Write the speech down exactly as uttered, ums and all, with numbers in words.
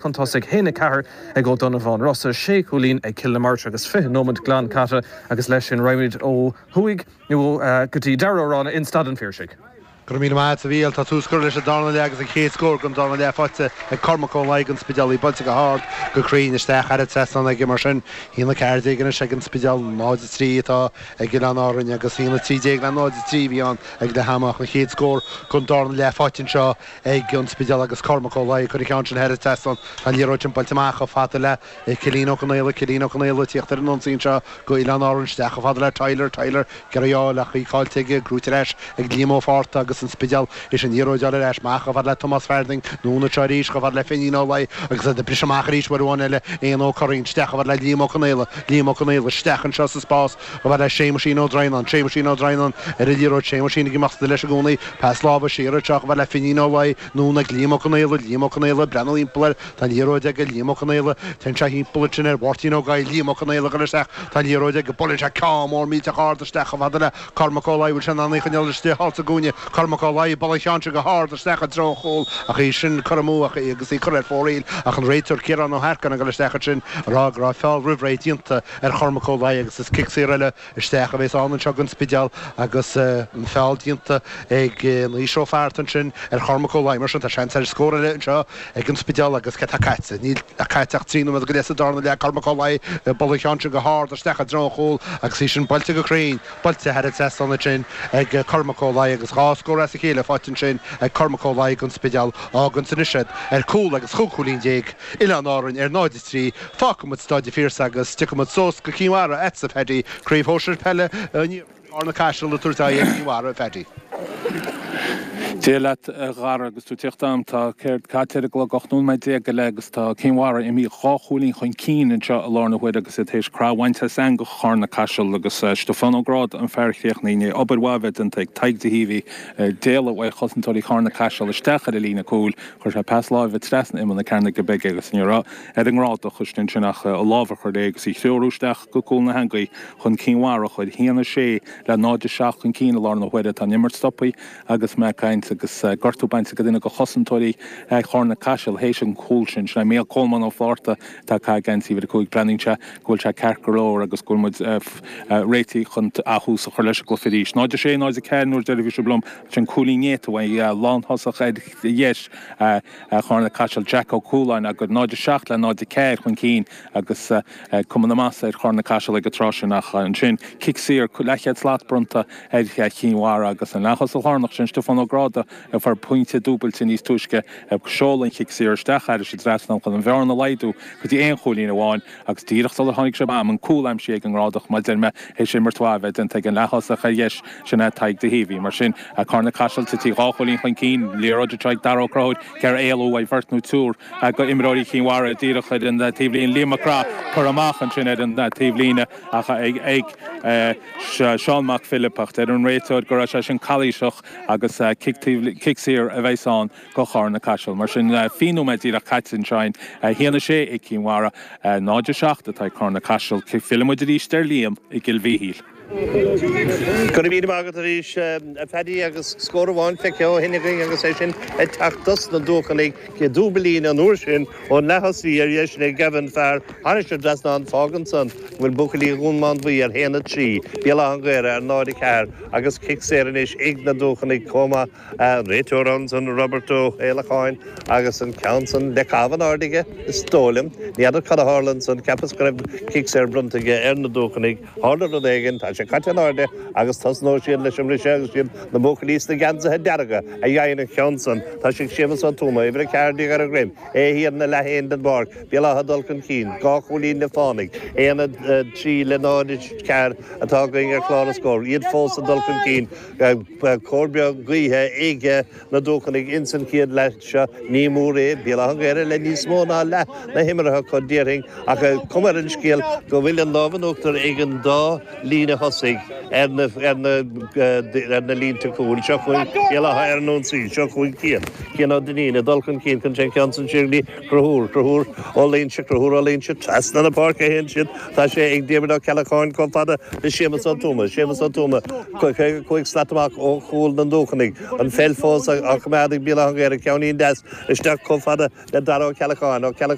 Chun tosaigh haon a ceathair ag Ó Donnabháin Rosa sé chúilín ag Cill na Martra agus fiche nóiméad glan caite agus leis sin raghaimid ó thuaidh nó go dtí Dara Ó Ráinne in Staid an Phiarsaigh. Go raibh míle maith agat a Mhíchíl tá tús curtha leis an darna leath agus an chéad scór den darna leath faighte ag Cormac Ó Laoi don Spidéal í buailte go hard go cruinn isteach thar an trasnán aige mar sin haon a ceathair déag anois ag an Spidéal náid a trí atá ag Oileáin Árainn agus haon a trí déag le náid a trí a bhí ann ag leath ama ach an chéad scór den darna leath faighte anseo ag an Spidéal agus Cormac Ó Laoi ag cur an ceann sin thar an trasnán tá an liathróid sin buailte amach chomh fada le Cillian Ó Conaola Cillian Ó Conaola ag tíocht ar an ionsaí anseo go Oileáin Árann isteach chomh fada le Tyler Tyler ag iarraidh a fháil ach í caillte aige gnóthaithe ar ais ag Liam Ó Fátharta agus an Spidéal is an liathróid ar ais amach chomh fada le Tomás Farthing anonn anseo arís chomh fada le Finín Ó Laoi agus iad ag briseadh amach arís uair amháin eile Éanna Ó Curraoin isteach chomh fada le Liam Ó Conaola Liam Ó Conaola isteach anseo sa spás chomh fada le Séamuisín Ó Droighneáin Séamuisín Ó Droighneáin ar an liathróid Séamuisín ag imeacht leis i gcónaí pas láimhe siar anseo chomh fada le Finín Ó Laoi anonn ag Liam Ó Conaola Liam Ó Conaola ag breathnú thimpeall air tá an liathróid aige Liam Ó Conaola téann sé thimpeall ansin ar Mháirtín Ó Gabhla Liam Ó Conaola ag dul isteach tá an liathróid aige buaileann sé ceann mór millteach ard isteach chomh fada le Cormac Ó Laoi bhfuil sé in ann í a choinneáil istigh thall sa gcúinne Cormac Ó Laoi buaileann an ceann sin go hard isteach i dtreo an chúil ach í sin curtha amú ach í agus í curtha ar fóraoil ach an réiteoir Ciarán Ó hEarcáin ag dul isteach ansin ag rá go raibh feall roimh ré déanta ar Chormac Ó Laoi agus is cic saor eile isteach a bheas ann anseo don Spidéal agus an feall déanta ag Naoise Ó Fatharta ansin ar Chormac Ó Laoi mar sin tá seans ar scór eile anseo ag an Spidéal agus cé tá caite? Níl ach caite ach trí nóiméad go leith sa darna leath Cormac Ó Laoi ag bualadh an cheann sin go hard isteach i dtreo an chúil agus í sin buailte go cruinn, buailte thar an trasnán ansin ag Cormac Ó Laoi agus dhá scór as a chéile faighte ansin ag Cormac Ó Laoi don Spidéal. Fágann sin anois iad ar cúl agus chúig chúilín déag, Oileáin Árainn ar náid a trí. Fágfaidh muid Staid an Phiarsaigh agus tiocfaidh muid suas go Cinn Mhara agatsa, Paddy, Craobh Shóisir Peile an Iarthair, Carna Caiseal ag tabhairt aghaidh ar Chinn Mhara, Paddy. Dia leat a Dhara agus tú ag tíocht agam. Tá céard caite ar an gclog, ocht nóiméad déag go leith agus tá Cinn Mhara imithe dhá chúilín chun cinn anseo i láthair na huaire agus iad théis craith a bhaint as eangach Charna Caiseal agus Stiofán Ó Gráda an fear a chríochnaigh i ndiaidh obair mhaith a bheith déanta ag Tadhg de hÍomhaí d'éalaigh uaidh chosantóirí Charna Caiseal isteach ar an líne cúil. Chuir sé pas láimhe trasna imeall na cearnóige bige agus ní raibh ar an nGrádach istigh ansin ach a lámh a chur léi agus í threorú isteach go cúl na heangaí chun Cinn Mhara a chur a haon a sé le náid a seacht chun cinn i láthair na huaire. Tá an imirt stoptha agus mé ag caint agus gortú bainte ag duine de chosantóirí Charna Caiseal théis an chúil sin. Sin é Mícheál Coleman Ó Flátharta atá ag caitheamh geansaí uimhir a cúig. Breathnaíonn sé go bhfuil sé ceart go leor agus go bhfuil muid réitithe chun ath-thús a chur leis an gcluiche arís. náid a sé, náid a ceathair nuair a deir sibh liom sin cúilín néata uaidh lánthosach ar dheis Charna Caiseal Jack Ó Cualáin agus náid a seacht le náid a ceathair chun cinn agus cuma na masa ar Charna Caiseal ag an tráth sin ach ansin cic saor leathchéad slat bronnta ar Chinn Mhara agus an leath-thosach lárnach sin Stiofán Ó Gráda a fuair pointe dúbailte níos túisce ag seoladh an chic saor isteach thairis an dtrasnán chun an bhearna a laghdú go dtí aon chúilín amháin agus díreach sular tháinig sé am an cúl aimsithe ag an nGrádach mar a deir mé théis imirt mhaith a bheith déanta ag an leath-thosach ar dheis sin é Tadhg de hÍomhaí. Mar sin, Carna Caiseal tití dhá chúilín chun cinn, liathróid anseo ag Dara Ó Conchúir ag iarraidh éalú uaidh bheirt nó triúr de imreoirí Chinn Mhara díreach ar an taobhlíne. Liam Mac Craith curtha amach ansin ar an taobhlíne ach ag Seán Mac Philip ach deir an réiteoir go raibh sé sin calaoiseach agus cic saor a bheas ann do Charna Caiseal. Mar sin, fiche nóiméad díreach caite anseo, a haon a sé ag Cinn Mhara, náid a seacht atá ag Carna Caiseal. Fillfidh muid arís ar Liam i gCill Mhíchíl. Go raibh míle maith agat arís, a Phaddy, agus scór amháin feicthe ó shin againn agus é sin ag teacht dos na Dúchanaigh, dúbailín an uair sin ón leath-thosaí ar dheis le Gavin Farr thairis an dtrasnán. Fágann san go bhfuil buachaillí Dhún Mánmhaí ar haon a trí, Béal Átha an Ghaorthaidh ar náid a ceathair agus cic saor anois ag na Dúchanaigh chomh maith. An réiteoir ansan, Robert Ó hÉileacháin, agus an ceann san le caitheamh in airde aige, is dóigh liom. Ní fheadar cad a tharla ansan, cheapas go raibh cic saor bronnta aige ar na Dúchanaigh. Tharla rud éigin, tá sé caite in airde agus tosnóidh siad leis an mbriseadh agus siad na buachaillí sna geansaithe dearga a fhaigheann an ceann san. Tá sé ag Séamus Ó Tuama, uimhir a ceathair déag ar a dhroim, é thiar ina leath féin den bpáirc. Béal Átha ag dul chun cinn, dhá chúilín le fánaidh, aon a trí le náid a ceathair atá againn ar chlár na scór, iad fós ag dul chun cinn. Cor beag gaoithe ag na Dúchanaigh ins an chéad leath seo. Ní mór é Béal Átha an Ghaorthaidh le níos mó ná leath na himeartha acu, déarfainn, ach cuma ar an scéal go bhfuil an lámh in uachtar ag an dá líne thosaigh. tosaigh ar na ar na ar na línte cúil seo chugainn Béal Átha ar an ionsaí seo chugainn Cian Cian Ó Duinnín ag dul chun cinn chun sé ceann san siar go dtí Conchúr Conchúr Ó Loingsigh Conchúr Ó Loingsigh trasna na páirce a théann siad tá sé ag Diarmuid Ó Ceallacháin chomh fada le Séamus Ó Tuama Séamus Ó Tuama caoga cúig slat amach ó chúl na nDúchanaigh an pheil fós á coimeád ag Béal Átha an Ghaorthaidh ceainnín deas isteach chomh fada le Dara Ó Ceallacháin Ó Ceallacháin